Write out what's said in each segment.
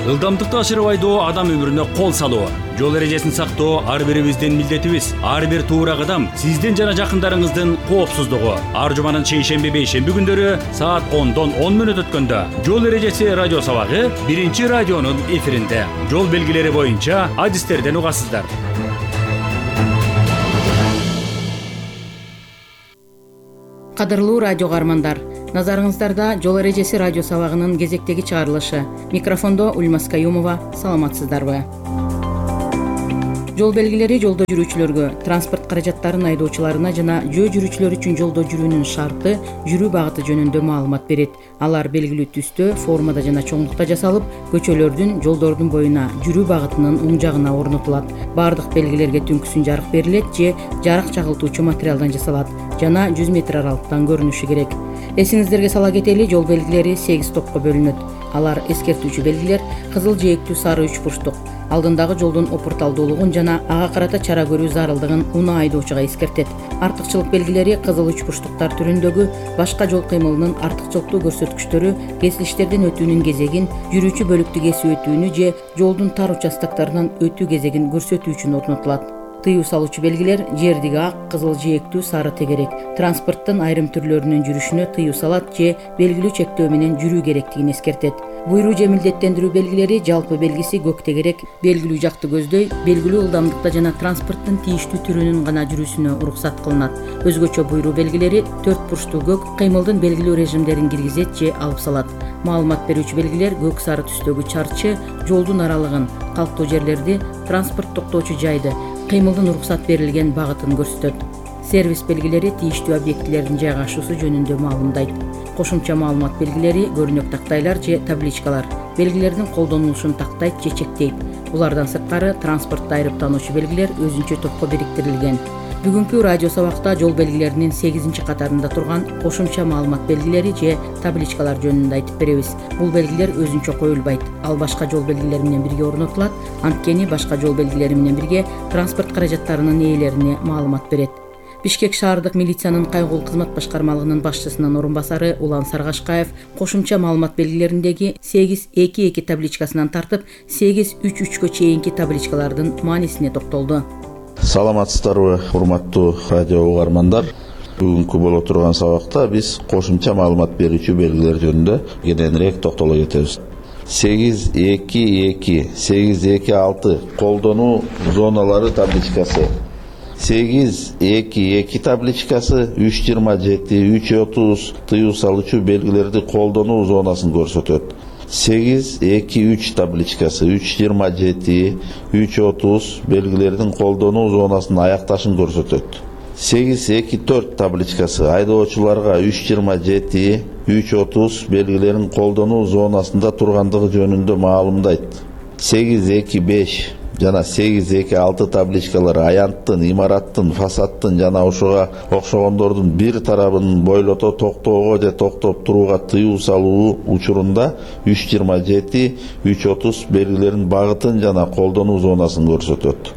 Ылдамдыкты ашырып айдоо адам өмүрүнө кол салуу. Жол эрежесин сактоо ар бирибиздин милдетибиз. Ар бир туура кадам сиздин жана жакындарыңыздын коопсуздугу. Ар жуманын шейшемби бейшемби күндөрү саат 10дон 10 мүнөт өткөндө Жол эрежеси радио сабагы биринчи радионун эфиринде. Жол белгилери боюнча адистерден угасыздар. Кадырлуу радио каармандар, назарыңыздарда Жол эрежеси радио сабагынын кезектеги чыгарылышы. Микрофондо Ульмас Каюмова. Саламатсыздарбы? Жол белгилери жолдо жүрүүчүлөргө, транспорт каражаттарын айдоочуларына жана жөө жүрүүчүлөр үчүн жолдо жүрүүнүн шарты, жүрүү багыты жөнүндө маалымат берет. Алар белгилүү түстө, формада жана чоңдукта жасалып, көчөлөрдүн, жолдордун боюна, жүрүү багытынын оң жагына орнотулат. Бардык белгилерге түнкүсүн жарык берилет же жарык чагылтуучу материалдан жасалат жана 100 метр аралыктан көрүнүшү керек. Эсиңиздерге сала кетели, жол белгилери 8 топко бөлүнөт. Алар эскертүүчү белгилер кызыл жээктүү сары 3 бурчтук, алдындагы жолдун опурталдуулугун жана ага карата чара көрүү зарылдыгын унаа айдоочуга эскертет. Артыкчылык белгилери кызыл 3 бурчтуктар түрүндөгү башка жол кыймылынын артыкчылыктуу көрсөткүчтөрү, кесилиштерден өтүүнүн кезегин, жүрүүчү бөлүктү кесип өтүүнү же жолдун тар участоктарынан өтүү кезегин көрсөтүү үчүн орнотулат. Тыюу салуучу белгилер жердиги ак, кызыл жээктүү сары тегерек, транспорттун айрым түрлөрүнүн жүрүшүнө тыюу салат же белгилүү чектөө менен жүрүү керектигин эскертет. Буйруу же милдеттендирүү белгилери жалпы белгиси көк тегерек, белгилүү жакты көздөй, белгилүү ылдамдыкта жана транспорттун тийиштүү түрүнүн гана жүрүүсүнө уруксат кылынат. Өзгөчө буйруу белгилери 4 бурчтуу көк кыймылдын белгилүү режимдерин киргизет же алып салат. Маалымат берүүчү белгилер көк сары түстөгү чарчы, жолдун аралыгын, калктуу жерлерди, транспорт токтоочу жайды, кыймылдын уруксат берилген багытын көрсөтөт. Сервис белгилери тийиштүү объектилердин жайгашуусу жөнүндө маалымдайт. Кошумча маалымат белгилери көрүнөк тактайлар же табличкалар белгилердин колдонулушун тактайт же чектейт. Булардан сырткары транспортто айрыптануучу белгилер өзүнчө топко бириктирилген. Бүгүнкү радио сабакта жол белгилеринин 8-чи катарында турган кошумча маалымат белгилери же табличкалар жөнүндө айтып беребиз. Бул белгилер өзүнчө коюлбайт. Ал башка жол белгилери менен бирге орнотулат. Анткени башка жол белгилери менен бирге транспорт каражаттарынын ээлерине маалымат берет. Бишкек шаардык милициянын кайгылуу кызмат башкармалыгынын башчысынын орун басары Улан Саргашкаев кошумча маалымат белгилериндеги 822 табличкасынан тартып 833кө чейинки табличкалардын маанисине токтолду. Саламатсыздарбы, урматтуу радио угармандар. Бүгүнкү боло турган сабакта биз кошумча маалымат берүүчү белгилер жөнүндө кененирээк токтоло кетебиз. 822, 826 колдонуу зоналары табличкасы, 822 табличкасы 327, 330 тыюу салуучу белгилерди колдонуу зонасын көрсөтөт. 823 табличкасы 327, 330 белгилердин колдонуу зонасын аякташын көрсөтөт. 824 табличкасы айдоочуларга 327, 330 белгилерин колдонуу зонасында тургандыгы жөнүндө маалымдайт. 825 жана 826 табличкалары аянттын, имараттын, фасадтын жана ошого окшогондордун бир тарабын бойлото токтоого же токтоп турууга тыюу салуу учурунда 327, 330 белгилерин багытын жана колдонуу зонасын көрсөтөт.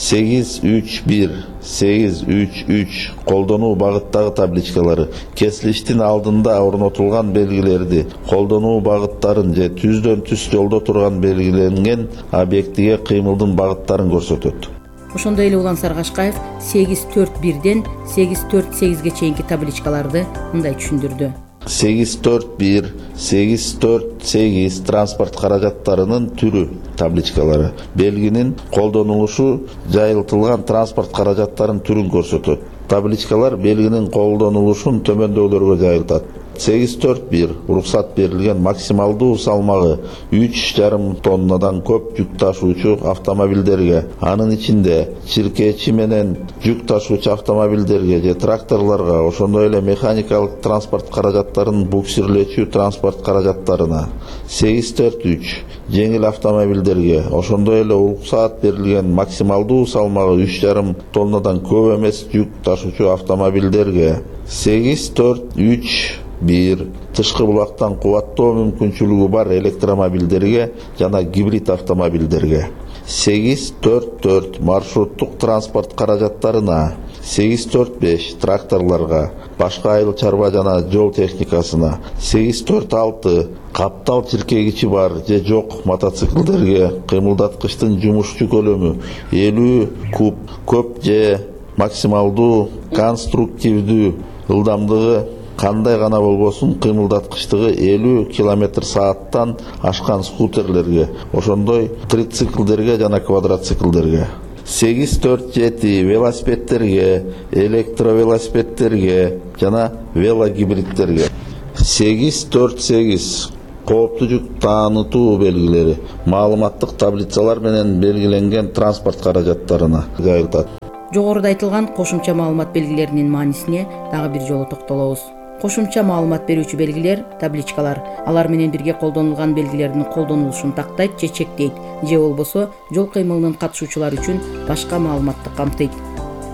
831, 833 колдонуу багыттагы табличкалары кесилиштин алдында орнотулган белгилерди, колдонуу багыттарын же түздөн түз жолдо турган белгиленген объектиге кыймылдын багыттарын көрсөтөт. Ошондой эле Улан Саргашкаев 841ден 848ге чейинки табличкаларды мындай түшүндүрдү. 841, 848 транспорт каражаттарынын түрү табличкалары белгинин колдонулушу жайылтылган транспорт каражаттарынын түрүн көрсөтөт. Табличкалар белгинин колдонулушун төмөндөгүлөргө жайылтат. 841 уруксат берилген максималдуу салмагы 3,5 тоннадан көп жүк ташуучу автомобилдерге, анын ичинде чиркечи менен жүк ташуучу автомобилдерге же тракторлорго, ошондой эле механикалык транспорт каражаттарын буксирлечү транспорт каражаттарына, 843 жеңил автомобилдерге, ошондой эле уруксат берилген максималдуу салмагы 3,5 тоннадан көп эмес жүк ташуучу автомобилдерге, 843 тышкы булактан кубаттоо мүмкүнчүлүгү бар электромобилдерге жана гибрид автомобилдерге, 844 маршруттук транспорт каражаттарына, 845 тракторларга, башка айыл чарба жана жол техникасына, 846 каптал чиркегичи бар же жок мотоциклдерге кыймылдаткычтын жумушчу көлөмү 50 куб, көп же максималдуу конструктивдүү ылдамдыгы кандай гана болбосун кыймылдаткычтыгы 50 км/сааттан ашкан скутерлерге, ошондой трициклдерге жана квадроциклдерге, 847 велосипедтерге, электровелосипедтерге жана велогибридтерге, 848 кооптуу жүк таанытуу белгилери маалыматтык таблицалар менен белгиленген транспорт каражаттарына жайылтат. Жогоруда айтылган кошумча маалымат белгилеринин маанисине дагы бир жолу токтолобуз. Кошумча маалымат берүүчү белгилер, табличкалар, алар менен бирге колдонулган белгилердин колдонулушун тактайт же чектейт, же болбосо жол кыймылынын катышуучулары үчүн башка маалыматты камтыйт.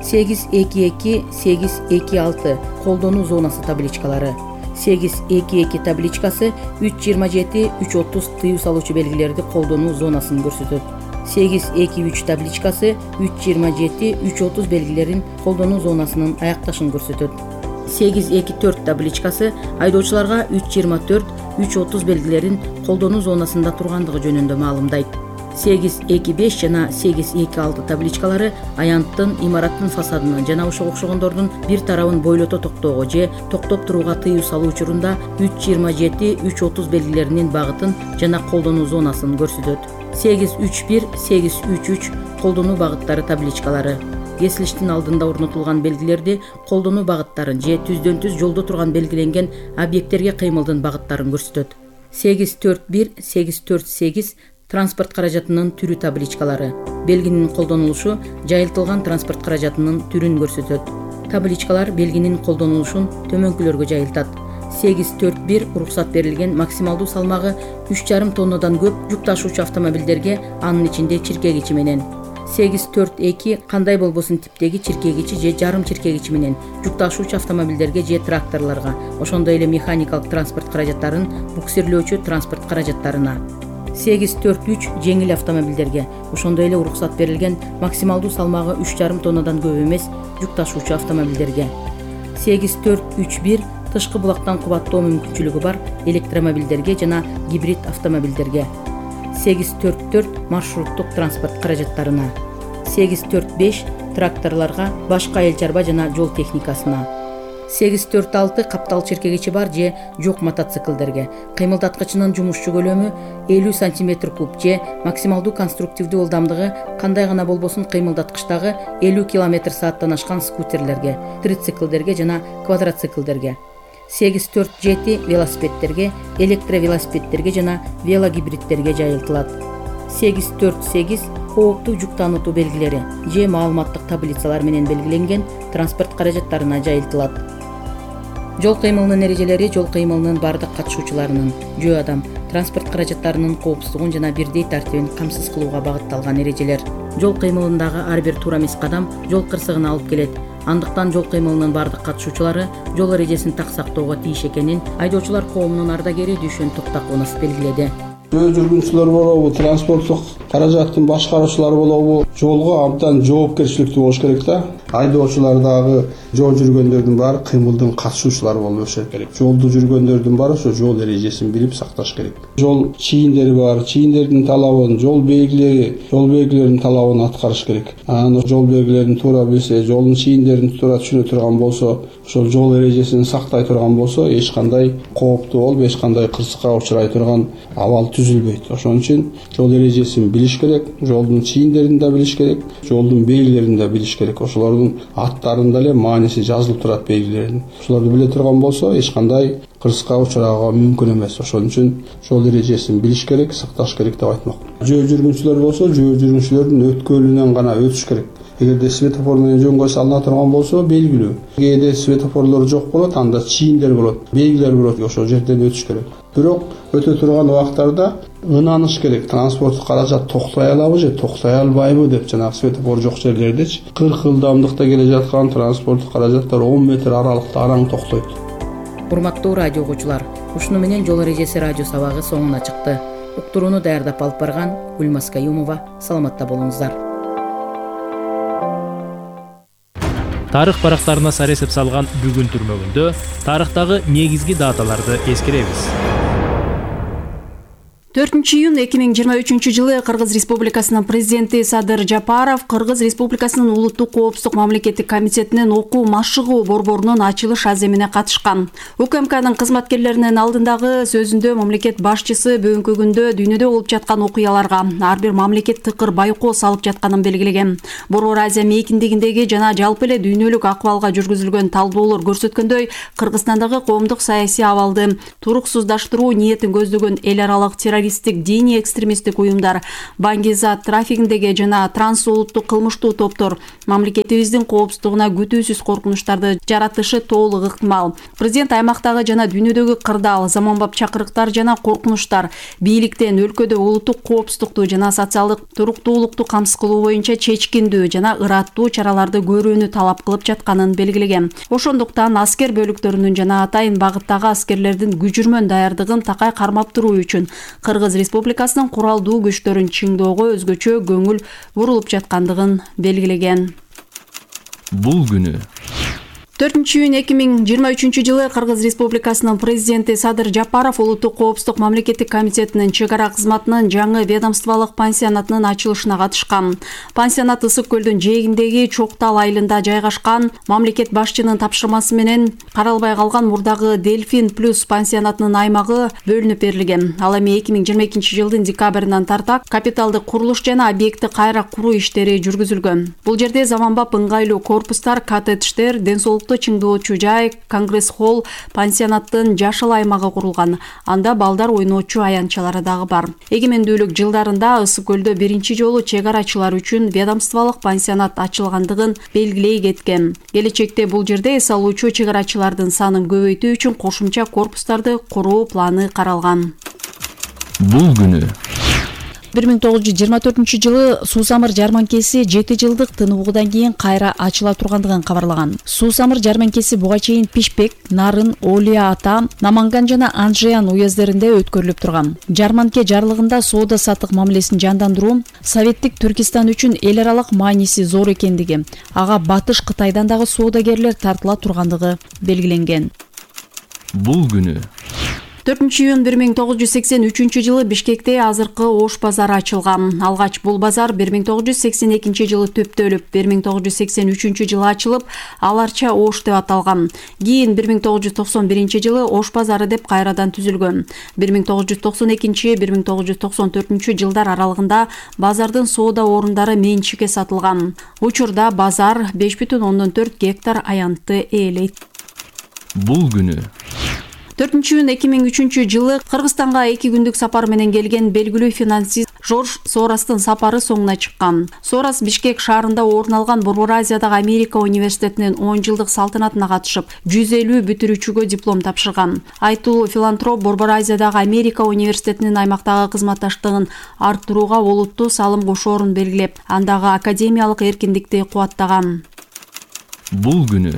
822, 826 колдонуу зонасы табличкалары. 822 табличкасы 327, 330 тыюу салуучу белгилерди колдонуу зонасын көрсөтөт. 823 табличкасы 327, 330 белгилерин колдонуу зонасынын аякташын көрсөтөт. 824 табличкасы айдоочуларга 324, 330 белгилерин колдонуу зонасында тургандыгы жөнүндө маалымдайт. 825 жана 826 табличкалары аянттын, имараттын фасадынын жана ошого окшогондордун бир тарабын бойлото токтоого же токтоп турууга тыюу салуу учурунда 327, 330 белгилеринин багытын жана колдонуу зонасын көрсөтөт. 831, 833 колдонуу багыттары табличкалары. Кесилиштин алдында орнотулган белгилерди колдонуу багыттарын же түздөн түз жолдо турган белгиленген объекттерге кыймылдын багыттарын көрсөтөт. 841, 848 транспорт каражатынын түрү табличкалары. Белгинин колдонулушу жайылтылган транспорт каражатынын түрүн көрсөтөт. Табличкалар белгинин колдонулушун төмөнкүлөргө жайылтат. 841 уруксат берилген максималдуу салмагы 3,5 тоннадан көп жүк ташуучу автомобилдерге, анын ичинде чиркегичи менен. 842 кандай болбосун типтеги чиркегичи же жарым чиркегичи менен жүк ташуучу автомобилдерге же тракторлорго, ошондой эле механикалык транспорт каражаттарын буксирлөөчү транспорт каражаттарына. 843 жеңил автомобилдерге, ошондой эле уруксат берилген максималдуу салмагы 3,5 тоннадан көп эмес жүк ташуучу автомобилдерге. 8431 тышкы булактан кубаттоо мүмкүнчүлүгү бар электромобилдерге жана гибрид автомобилдерге. 844 маршруттук транспорт каражаттарына. 845 тракторлорго, башка айыл чарба жана жол техникасына. 846 каптал чиркегичи бар же жок мотоциклдерге, кыймылдаткычынын жумушчу көлөмү 50 см куб же максималдуу конструктивдүү ылдамдыгы кандай гана болбосун кыймылдаткычтагы 50 км/сааттан ашкан скутерлерге, трициклдерге жана квадроциклдерге. 847 велосипедтерге, электровелосипедтерге жана велогибридтерге жайылтылат. 848 кооптуу жүк таанытуу белгилери же маалыматтык таблицалар менен белгиленген транспорт каражаттарына жайылтылат. Жол кыймылынын эрежелери жол кыймылынын бардык катышуучуларынын, жөө адам, транспорт каражаттарынын коопсуздугун жана бирдей тартибин камсыз кылууга багытталган эрежелер. Жол кыймылындагы ар бир туура эмес кадам жол кырсыгына алып келет. Андыктан жол кыймылынын бардык катышуучулары жол эрежесин так сактоого тийиш экенин айдоочулар коомунун ардагери Дүйшөн Токтакунов белгиледи. Жөө жүргүнчүлөр болобу, транспорттук каражаттын башкаруучулары болобу, жолго абдан жоопкерчиликтүү болуш керек да. Айдоочулар дагы жол жүргөндөрдүн баары кыймылдын катышуучулары болушу керек. Жолду жүргөндөрдүн баары ошо жол эрежесин билип сакташ керек. Жол чийиндери бар, чийиндердин талабын, жол белгилеринин талабын аткарыш керек. Анан жол белгилерин туура билсе, жолдун чийиндерин туура түшүнө турган болсо, ошол жол эрежесин сактай турган болсо, эч кандай кооптуу болуп, эч кандай кырсыкка учурай турган абал түзүлбөйт. Ошон үчүн жол эрежесин билиш керек, жолдун чийиндерин да билиш керек, жолдун белгилерин да билиш керек. Ошолордун аттарында эле мааниси жазылып турат белгилердин. Ошолорду биле турган болсо, эч кандай кырсыкка учурууга мүмкүн эмес. Ошон үчүн жол эрежесин билиш керек, сакташ керек деп айтмак. Жөө жүргүнчүлөр болсо, жөө жүргүнчүлөрдүн өткөлүнөн гана өтүш керек. Эгерде светофор менен жөнгө салына турган болсо, белгилүү. Кээде светофорлор жок болот, анда чийиндер болот, белгилер болот, ошол жерден өтүш керек. Бирок өтө турган убактарда ынаныш керек. Транспорт каражат токтой алабы же токтой албайбы деп, жанагы светофор жок жерлердечи 40 ылдамдыкта келе жаткан транспорт каражаттар 10 метр аралыкта араң токтойт. Урматтуу радио угуучулар, ушуну менен жол эрежеси радио сабагы соңуна чыкты. Уктурууну даярдап алып барган Гүлмаз Каюмова. Саламатта болуңуздар. Тарых барактарына сар эсеп салган бүгүн түрмөгүндө тарыхтагы негизги даталарды эскеребиз. 4-июнь 2023 Кыргыз Республикасынын президенти Садыр Жапаров Кыргыз Республикасынын Улуттук коопсуздук мамлекеттик комитетинин окуу машыгуу борборунун ачылыш аземине катышкан. УКМКнын кызматкерлеринин алдындагы сөзүндө мамлекет башчысы бүгүнкү күндө дүйнөдө болуп жаткан окуяларга ар бир мамлекет тыкыр байкоо салып жатканын белгилеген. Борбор Азия мейкиндигиндеги жана жалпы эле дүйнөлүк акыбалга жүргүзүлгөн талдоолор көрсөткөндөй, Кыргызстандагы коомдук саясий абалды туруксуздаштыруу ниетин көздөгөн эл аралык террористтик диний экстремисттик уюмдар, баңги-зат трафигиндеги жана трансулуттук кылмыштуу топтор мамлекетибиздин коопсуздугуна күтүүсүз коркунучтарды жаратышы толук ыктымал. Президент аймактагы жана дүйнөдөгү кырдаал, заманбап чакырыктар жана коркунучтар бийликтен өлкөдө улуттук коопсуздукту жана социалдык туруктуулукту камсыз кылуу боюнча чечкиндүү жана ыраттуу чараларды көрүүнү талап кылып жатканын белгилеген. Ошондуктан аскер бөлүктөрүнүн жана атайын багыттагы аскерлердин күжүрмөн даярдыгын такай кармап туруу үчүн Кыргыз Республикасынын куралдуу күчтөрүн чыңдоого өзгөчө көңүл бурулуп жаткандыгын белгилеген. Бул күнү 4-июнь 2023 Кыргыз Республикасынын президенти Садыр Жапаров Улуттук коопсуздук мамлекеттик комитетинин чек ара кызматынын жаңы ведомстволук пансионатынын ачылышына катышкан. Пансионат Ысык көлдүн жээгиндеги Чоктал айылында жайгашкан. Мамлекет башчынын тапшырмасы менен каралбай калган мурдагы Дельфин плюс пансионатынын аймагы бөлүнүп берилген. Ал эми 2022 жылдын декабрынан тарта капиталдык курулуш жана объектти кайра куруу иштери жүргүзүлгөн. Бул жерде заманбап ыңгайлуу корпустар, коттедждер, ден соолук чыңдоочу жай, конгресс-холл, пансионаттын жашыл аймагы курулган. Анда балдар ойноочу аянтчалары дагы бар. Эгемендүүлүк жылдарында Ысык көлдө биринчи жолу чек арачылар үчүн ведомстволук пансионат ачылгандыгын белгилей кеткен. Келечекте бул жерде эс алуучу чек арачылардын санын көбөйтүү үчүн кошумча корпустарды куруу планы каралган. Бул күнү 1924 жылы Суусамыр жарманкеси 7 жылдык тыныбуудан кийин кайра ачыла тургандыгын кабарлаган. Суусамыр жарманкеси буга чейин Пишпек, Нарын, Олия Ата, Наманган жана Анжеян уездеринде өткөрүлүп турган. Жарманке жарлыгында соода саттык мамилесин жандандыруу Советтик Түркистан үчүн эл аралык мааниси зор экендиги, ага Батыш Кытайдан дагы соодагерлер тартыла тургандыгы белгиленген. Бул күнү 4-июнь 1983 жылы Бишкекте азыркы Ош базары ачылган. Алгач бул базар 1982 жылы төптөлүп, 1983 жылы ачылып, аларча Ош деп аталган. Кийин 1991 жылы Ош базары деп кайрадан түзүлгөн. 1992-1994 жылдар аралыгында базардын соода орундары менчикке сатылган. Учурда базар 5,4 гектар аянтты ээлейт. Бул күнү 4-июнь 2003 жылы Кыргызстанга 2 күндүк сапар менен келген белгилүү финансист Жорж Соростун сапары соңуна чыккан. Сорос Бишкек шаарында орун алган Борбор Азиядагы Америка университетинин 10 жылдык салтанатына катышып, 150 бүтүрүүчүгө диплом тапшырган. Айтылуу филантроп Борбор Азиядагы Америка университетинин аймактагы кызматташтыгын арттырууга олуттуу салым кошоорун белгилеп, андагы академиялык эркиндикти кубаттаган. Бул күнү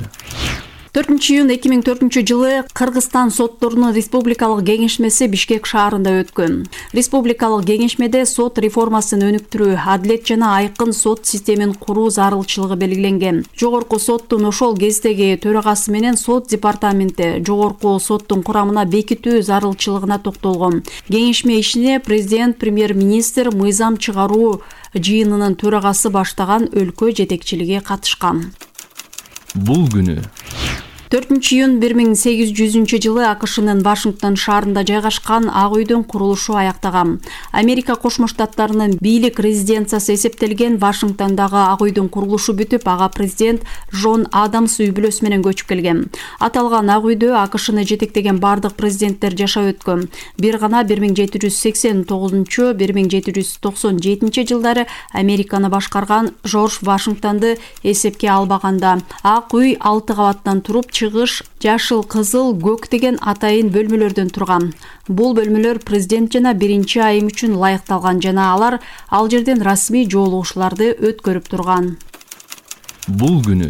4-июнь 2004 жылы Кыргызстан сотторунун республикалык кеңешмеси Бишкек шаарында өткөн. Республикалык кеңешмеде сот реформасын өнүктүрүү, адилет жана айкын сот системин куруу зарылчылыгы белгиленген. Жогорку соттун ошол кездеги төрагасы менен сот департаменти жогорку соттун курамына бекитүү зарылчылыгына токтолгон. Кеңешме ишине президент, премьер-министр, мыйзам чыгаруу жыйынынын төрагасы баштаган өлкө жетекчилиги катышкан. Бул күнү 4-июнь 1800 жылы АКШнын Вашингтон шаарында жайгашкан Ак үйдүн курулушу аяктаган. Америка Кошмо Штаттарынын бийлик резиденциясы эсептелген Вашингтондогу Ак үйдүн курулушу бүтүп, ага президент Джон Адамс үй бүлөсү менен көчүп келген. Аталган Ак үйдө АКШны жетектеген бардык президенттер жашап өткөн. Бир гана 1789-1797 жылдары Американы башкарган Жорж Вашингтонду эсепке албаганда, Ак үй 6 кабаттан туруп, чыгыш жашыл, кызыл, көк деген атайын бөлмөлөрдөн турган. Бул бөлмөлөр президент жана биринчи айым үчүн ылайыкталган жана алар ал жерден расмий жолугушууларды өткөрүп турган. Бул күнү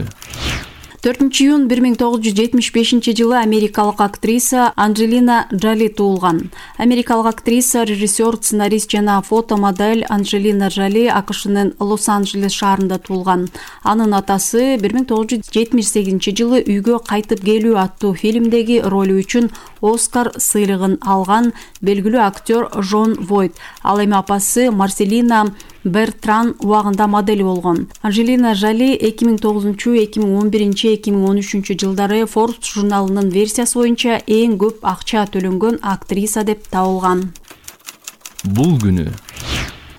4-июнь 1975 жылы америкалык актриса Анджелина Джоли туулган. Америкалык актриса, режиссер, сценарист жана фотомодель Анджелина Джоли АКШнын Лос-Анджелес шаарында туулган. Анын атасы 1978 жылы Үйгө кайтып келүү аттуу фильмдеги ролу үчүн Оскар сыйлыгын алган белгилүү актер Жон Войт. Ал эми апасы Марселина Бертран убагында модель болгон. Анджелина Джоли 2009-2011-2013 жылдары Forbes журналынын версиясы боюнча эң көп акча төлөнгөн актриса деп табылган. Бул күнү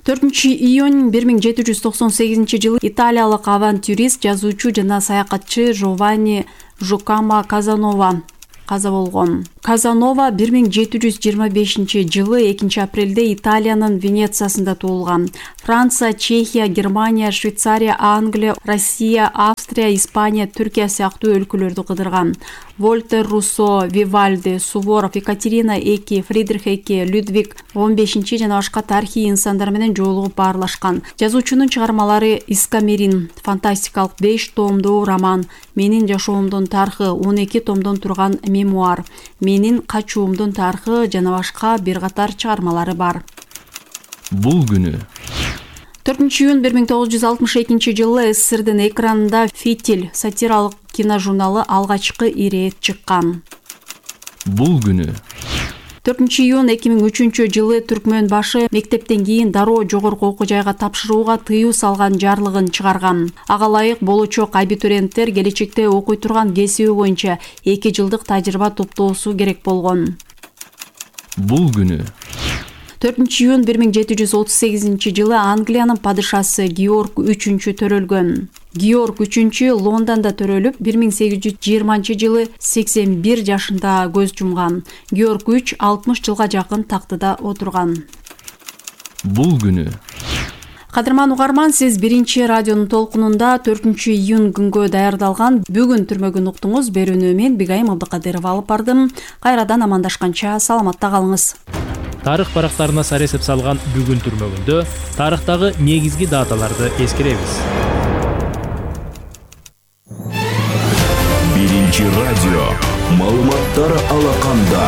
4-июнь 1798 жылы италиялык авантюрист, жазуучу жана саякатчы Джованни Жукама Казанова каза болгон. Казанова 1725 жылы 2-апрелде Италиянын Венециясында туулган. Франция, Чехия, Германия, Швейцария, Англия, Россия, Австрия, Испания, Түркия сыяктуу өлкөлөрдү кыдырган. Вольтер, Руссо, Вивальди, Суворов, Екатерина II, Фридрих II, Людвиг 15 жана башка тарыхый инсандар менен жолугуп баарлашкан. Жазуучунун чыгармалары Искамерин, фантастикалык 5 томдуу роман, Менин жашоомдун тарыхы 12 томдон турган мемуар, Менин качуумдун тарыхы жана башка бир катар чыгармалары бар. Бул күнү 4-июнь 1962 жылы СССРдин экранында «Фитиль» сатиралык киножурналы алгачкы ирет чыккан. Бул күнү 4-июнь 2003 жылы Түркмөн башы мектептен кийин дароо жогорку окуу жайга тапшырууга тыюу салган жарлыгын чыгарган. Ага ылайык болочок абитуриенттер келечекте окуй турган кесиби боюнча 2 жылдык тажрыйба топтоосу керек болгон. Бул күнү 4-июнь 1738 жылы Англиянын падышасы Георг III төрөлгөн. Георг III Лондондо төрөлүп, 1820 жылы 81 жашында көз жумган. Георг III 60 жылга жакын тактыда отурган. Бул күнү Кадырман угарман, сиз биринчи радионун толкунунда 4-июнь күнгө даярдалган бүгүн түрмөгүн уктуңуз. Берүүнү мен Бигайым Абдыкадырова алып бардым. Кайрадан амандашканча саламатта калыңыз. Тарых барактарына сар эсеп салган бүгүн түрмөгүндө тарыхтагы негизги даталарды эскеребиз. Биринчи радио маалыматтар алаканда.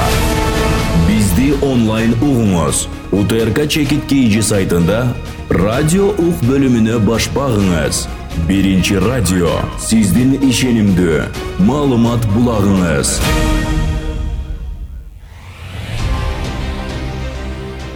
Бизди онлайн угуңуз. УТРК чекит KG сайтында радио ук бөлүмүнө баш багыңыз. Биринчи радио сиздин ишенимдүү маалымат булагыңыз.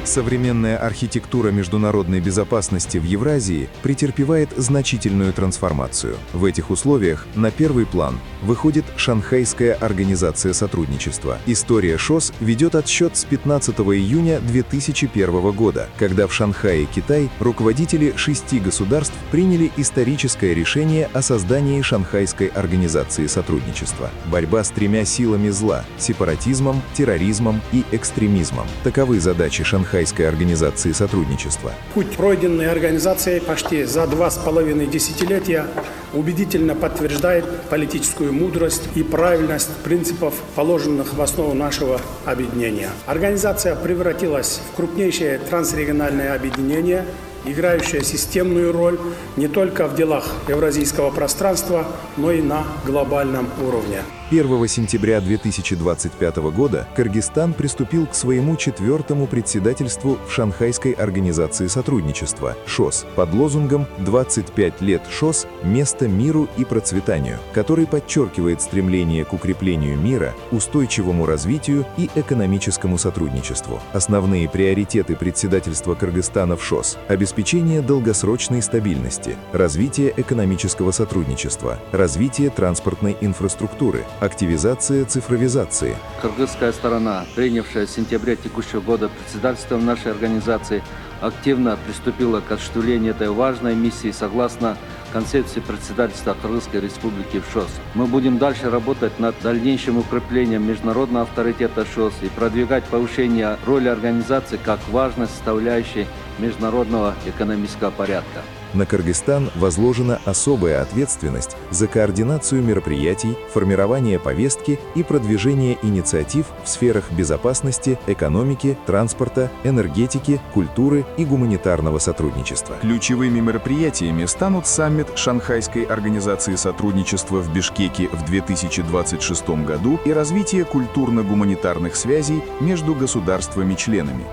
Современная архитектура международной безопасности в Евразии претерпевает значительную трансформацию. В этих условиях на первый план выходит Шанхайская организация сотрудничества. История ШОС ведет отсчет с 15 июня 2001 года, когда в Шанхае, Китай, руководители 6 государств приняли историческое решение о создании Шанхайской организации сотрудничества. Борьба с 3 силами зла – сепаратизмом, терроризмом и экстремизмом. Таковы задачи Шанхайской организации сотрудничества. Путь, пройденный организацией почти за 2,5 десятилетия, убедительно подтверждает политическую мудрость и правильность принципов, положенных в основу нашего объединения. Организация превратилась в крупнейшее трансрегиональное объединение, играющее системную роль не только в делах евразийского пространства, но и на глобальном уровне. 1 сентября 2025 года Кыргызстан приступил к своему 4-му председательству в Шанхайской организации сотрудничества ШОС под лозунгом «25 лет ШОС. Место миру и процветанию», который подчеркивает стремление к укреплению мира, устойчивому развитию и экономическому сотрудничеству. Основные приоритеты председательства Кыргызстана в ШОС – обеспечение долгосрочной стабильности, развитие экономического сотрудничества, развитие транспортной инфраструктуры, активизация цифровизации. Кыргызская сторона, принявшая с сентября текущего года председательством нашей организации, активно приступила к осуществлению этой важной миссии согласно концепции председательства Кыргызской Республики в ШОС. Мы будем дальше работать над дальнейшим укреплением международного авторитета ШОС и продвигать повышение роли организации как важной составляющей международного экономического порядка. На Кыргызстан возложена особая ответственность за координацию мероприятий, формирование повестки и продвижение инициатив в сферах безопасности, экономики, транспорта, энергетики, культуры и гуманитарного сотрудничества. Ключевыми мероприятиями станут саммит Шанхайской организации сотрудничества в Бишкеке в 2026 году и развитие культурно-гуманитарных связей между государствами-членами.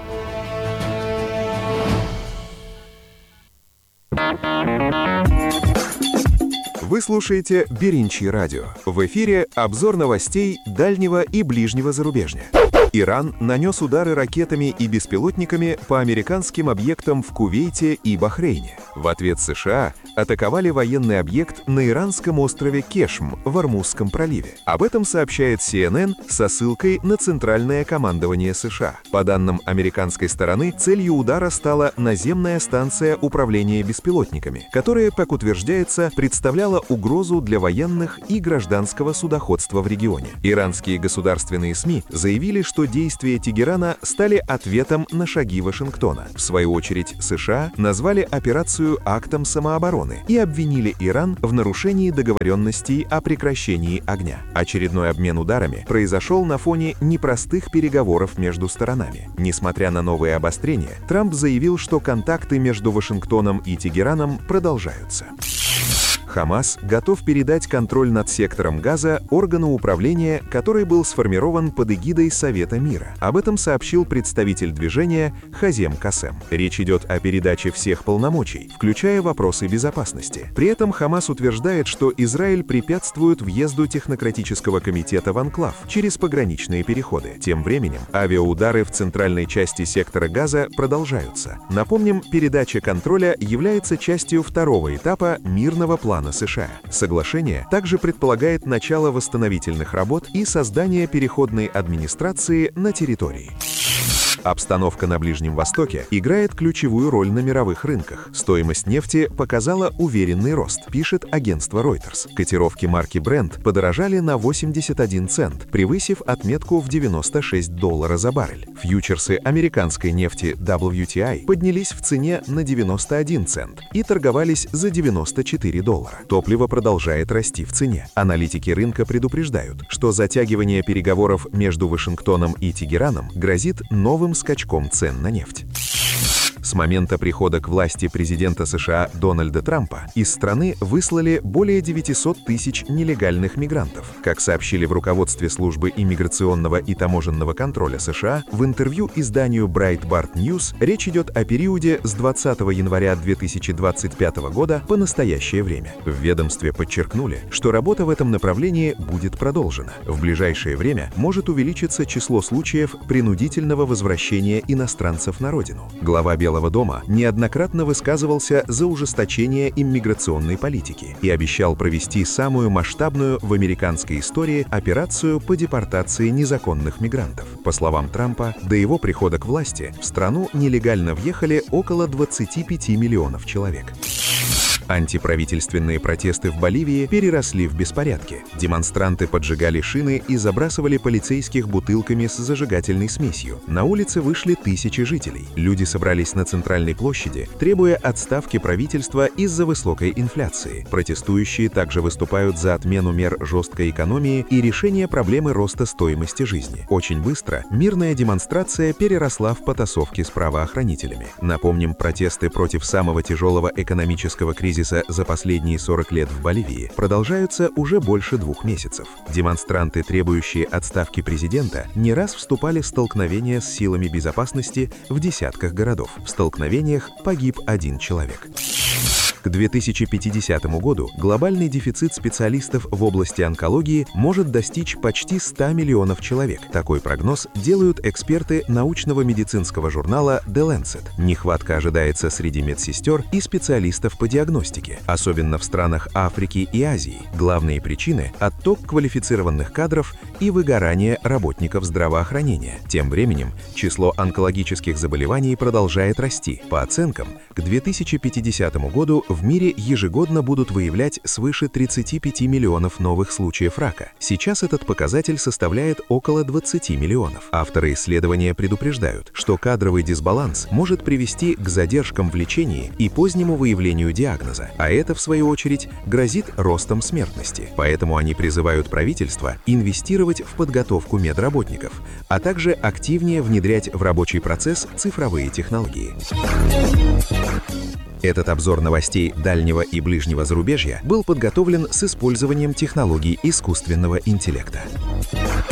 Вы слушаете Беринчи радио. В эфире обзор новостей дальнего и ближнего зарубежья. Иран нанес удары ракетами и беспилотниками по американским объектам в Кувейте и Бахрейне. В ответ США атаковали военный объект на иранском острове Кешм в Ормузском проливе. Об этом сообщает CNN со ссылкой на Центральное командование США. По данным американской стороны, целью удара стала наземная станция управления беспилотниками, которая, как утверждается, представляла угрозу для военных и гражданского судоходства в регионе. Иранские государственные СМИ заявили, что действия Тегерана стали ответом на шаги Вашингтона. В свою очередь, США назвали операцию актом самообороны и обвинили Иран в нарушении договоренностей о прекращении огня. Очередной обмен ударами произошел на фоне непростых переговоров между сторонами. Несмотря на новые обострения, Трамп заявил, что контакты между Вашингтоном и Тегераном продолжаются. Хамас готов передать контроль над сектором Газа органу управления, который был сформирован под эгидой Совета мира. Об этом сообщил представитель движения Хазем Касем. Речь идет о передаче всех полномочий, включая вопросы безопасности. При этом Хамас утверждает, что Израиль препятствует въезду технократического комитета в анклав через пограничные переходы. Тем временем авиаудары в центральной части сектора Газа продолжаются. Напомним, передача контроля является частью второго этапа мирного плана США. Соглашение также предполагает начало восстановительных работ и создание переходной администрации на территории. Обстановка на Ближнем Востоке играет ключевую роль на мировых рынках. Стоимость нефти показала уверенный рост, пишет агентство Reuters. Котировки марки Brent подорожали на 81 цент, превысив отметку в $96 за баррель. Фьючерсы американской нефти WTI поднялись в цене на 91 цент и торговались за $94. Топливо продолжает расти в цене. Аналитики рынка предупреждают, что затягивание переговоров между Вашингтоном и Тегераном грозит новым скачком цен на нефть. С момента прихода к власти президента США Дональда Трампа из страны выслали более 900 тысяч нелегальных мигрантов. Как сообщили в руководстве службы иммиграционного и таможенного контроля США, в интервью изданию Breitbart News речь идет о периоде с 20 января 2025 года по настоящее время. В ведомстве подчеркнули, что работа в этом направлении будет продолжена. В ближайшее время может увеличиться число случаев принудительного возвращения иностранцев на родину. Глава Белого дома неоднократно высказывался за ужесточение иммиграционной политики и обещал провести самую масштабную в американской истории операцию по депортации незаконных мигрантов. По словам Трампа, до его прихода к власти в страну нелегально въехали около 25 миллионов человек. Антиправительственные протесты в Боливии переросли в беспорядки. Демонстранты поджигали шины и забрасывали полицейских бутылками с зажигательной смесью. На улице вышли тысячи жителей. Люди собрались на центральной площади, требуя отставки правительства из-за высокой инфляции. Протестующие также выступают за отмену мер жесткой экономии и решение проблемы роста стоимости жизни. Очень быстро мирная демонстрация переросла в потасовки с правоохранителями. Напомним, протесты против самого тяжелого экономического кризиса за последние 40 лет в Боливии продолжаются уже больше 2 месяцев. Демонстранты, требующие отставки президента, не раз вступали в столкновения с силами безопасности в десятках городов. В столкновениях погиб 1 человек. К 2050 году глобальный дефицит специалистов в области онкологии может достичь почти 100 миллионов человек. Такой прогноз делают эксперты научного медицинского журнала The Lancet. Нехватка ожидается среди медсестер и специалистов по диагностике, особенно в странах Африки и Азии. Главные причины – отток квалифицированных кадров и выгорание работников здравоохранения. Тем временем число онкологических заболеваний продолжает расти. По оценкам, к 2050 году в мире ежегодно будут выявлять свыше 35 миллионов новых случаев рака. Сейчас этот показатель составляет около 20 миллионов. Авторы исследования предупреждают, что кадровый дисбаланс может привести к задержкам в лечении и позднему выявлению диагноза, а это, в свою очередь, грозит ростом смертности. Поэтому они призывают правительство инвестировать в подготовку медработников, а также активнее внедрять в рабочий процесс цифровые технологии. Этот обзор новостей дальнего и ближнего зарубежья был подготовлен с использованием технологий искусственного интеллекта.